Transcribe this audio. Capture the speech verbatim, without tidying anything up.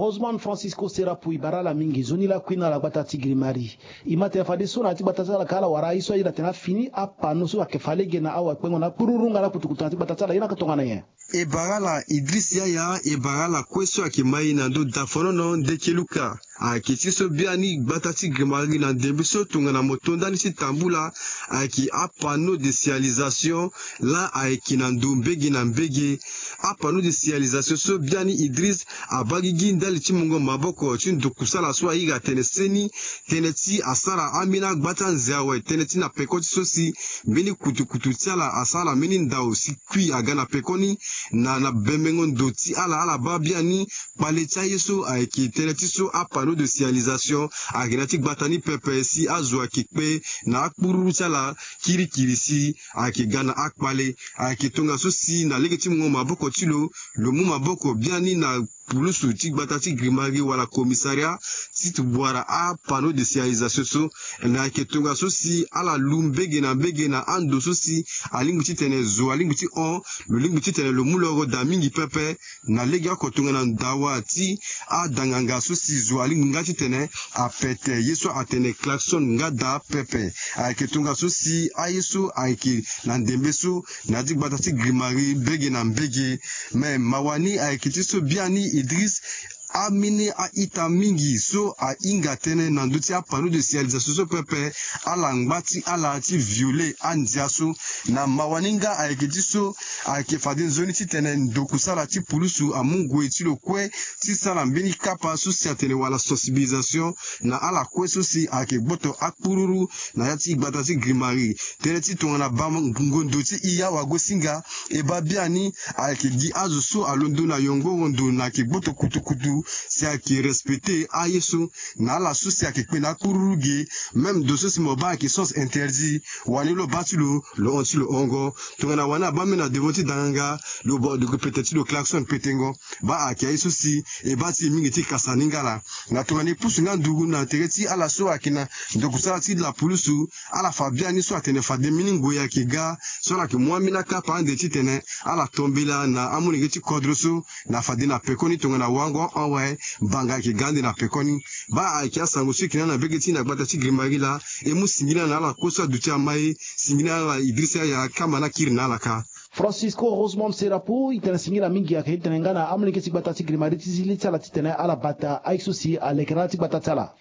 Osman Francisco Serapu, e bara ala mingi. Nzoni lakui na ala gbata ti Grimari. E ma tene fadeso na ya ti gbata ti ala ka ala wara aye so aye na tene afini apano so ayeke fa lege na awa kpengo na akpururu nga na kutukutu na ya ti gbata ti ala, ye na yeke tongana nyen? E bara ala Idriss Yaya, e bara ala kue so ayeke ma e na ndö dafonono ndeke luka. Ayeke ti so biani gbata ti Grimari na ndembe so tongana mo to ndani ti tambula ayeke apanneau de signalisation laa ayeke na ndo mbege na mbege. Apanneau de signalisation so biani Idriss abaa gigi ndali ti mungo maboko ti ndokusala so ahinga tene seni tënë ti asara ambeni agba ti anze awe tënë ti na peko ti so si mbeni kutukutu ti ala asara mbeni ndau si kui aga na pekoni. Na na bembengo ndo ti ala ala baa biani kpale ti aye so ayeke tënë ti so apanneau de signalisation ayeke na ya ti gbata ni pepe si azo ayeke kpe na akpururu ti ala kirikiri si ayeke ga na akpale. Ayeke tongaso si na lege ti mungo maboko ti lo, lo mu maboko biani na pulusu ti gbata ti Grimari wala commissariat ti wara apanneau de signalisation so. Na ayeke tongaso si ala lu mbege na mbege na ando so si alingbi titene zo alingbi ti hon, lo lingbi titene lo mu loro daa mingi pepe. Na legeoko tongana ndawa ti adanganga so si zo alingbi nga titene apete ye so atene klaxon nga daa pepe. Ayeke tongaso si aye so ayeke na ndembe so na ya ti gbata ti Grimari mbege na mbege. Me mawa ni ayeke ti so biani Idriss, ambeni a-ita mingi so ahinga tënë na ndö ti apanneau de signalisation so pepe, ala ngba ti ala ti violer andia so. Na mawa ni nga ayeke ti so ayeke fade nzoni titene ndokusala ti pulusu amu ngoi ti lo kue ti sara mbeni kapa so si atene wala sensibilisation na ala kue so si ayeke gboto akpururu na ya ti gbata ti Grimari. Tënë ti tongana bango ndo ti i awagosinga, e baa biani ayeke gi azo so alondo na yongoro ndo na ayeke gboto kutukutu si ayeke respecter aye so na ala so si ayeke kpe na akpururu ge. Même ndo so si mo baa ayeke sens interdit, wani lo baa ti lo, lo hon ti lo hongo. Tongana wani abaa mbeni na devant ti danganga, lo bo lo yeke pete ti lo klaxon petengo. Baa ayeke aye so si e baa ti e mingi ti kasa ni nga laa. Na tongana e pusu nga nduru na tere ti ala so ayeke na ndokusala ti lapulusu, ala fa biani so atene fade mbeni ngoi ayeke ga so ala yeke mu ambeni akapa ande titene ala to mbela na amolenge ti kodro so na fade na pekoni tongana wango awe, mbanga ayeke ga ande na pekoni. Baa ayeke asango so e yeke na ala na mbege ti e na gbata ti Grimari laa, e mu singila na ala kue so aduti ama e, singila na ala Idrissa Yaya, kamba ni akiri na ala kâ. Francisco Rosemond Serapo, e tene singila mingi ayeke ti tene nga na amolenge ti gbata ti Grimari ti zi li ti ala titene ala bata aye so si alekere ala ti gbata ti ala.